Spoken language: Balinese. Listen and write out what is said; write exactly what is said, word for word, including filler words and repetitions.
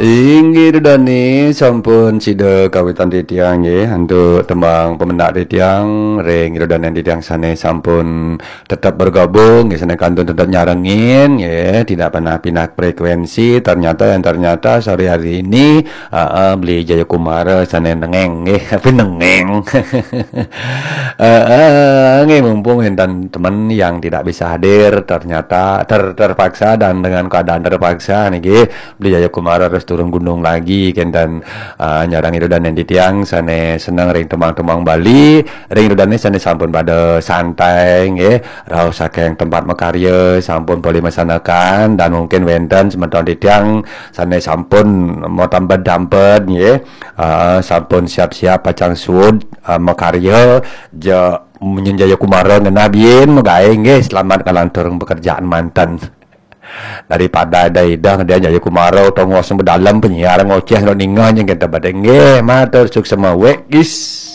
Inggih Ida dane sampun sida kawitan titiang nggih antuk tembang pemendak titiang ring Ida dane titiang sane sampun tetep bergabung nggih sane kantun tetep nyarengin nggih tidak pernah pindah frekuensi ternyata yang ternyata sore hari ini aa beli Jayakumara sane nengeng nggih apa nengeng Heeh, nggih mumpung enten temen yang tidak bisa hadir ternyata ter, terpaksa dan dengan keadaan terpaksa niki Beli Jayakumara terus turun gunung lagi kenten uh, nyarang ida dan titiang sane seneng ring temang-temang Bali ring ida sane sampun pada santai nggih rauh saking tempat makarya sampun polih masanakan dan mungkin wenten semeton titiang sane sampun mau tambah dampet nggih uh, sampun siap-siap pacang suud uh, makarya ja Munyin Jayakumara ngenah biin magae nggih selamat kalantur pekerjaan manten. Daripada ada idah dia Jayakumara tongos bedalem penyiar ngoceh lo ningah nyeng kita badeng nggih matur suksema wek gis.